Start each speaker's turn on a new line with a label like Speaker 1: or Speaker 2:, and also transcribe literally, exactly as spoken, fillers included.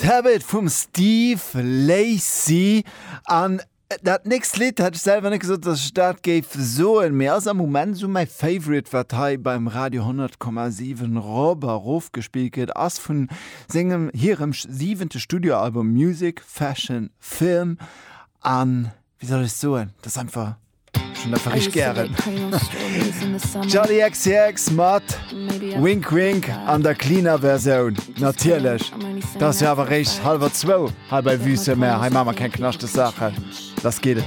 Speaker 1: Habit vum Steve Lacy an dat nächst Lidd hätt ech selwer net gesot, dass ech dat géif soen, mee ass am Moment sou mäi Favorite, wat hei beim Radio honnert Komma siwen rop a rof gespillt gëtt, ass vun sengem hirem siwente Studioalbum Music Fashion Film an, wéi soll ech soen, dat ass einfach schonn einfach richteg gären. Charli X C X mat Wink Wink an der cleaner Versioun natierlech. Dat ass jo awer réischt hallwer zwou hei bei Vue sur Mer, hei maache mer keng knaschteg Saachen, lass geet et.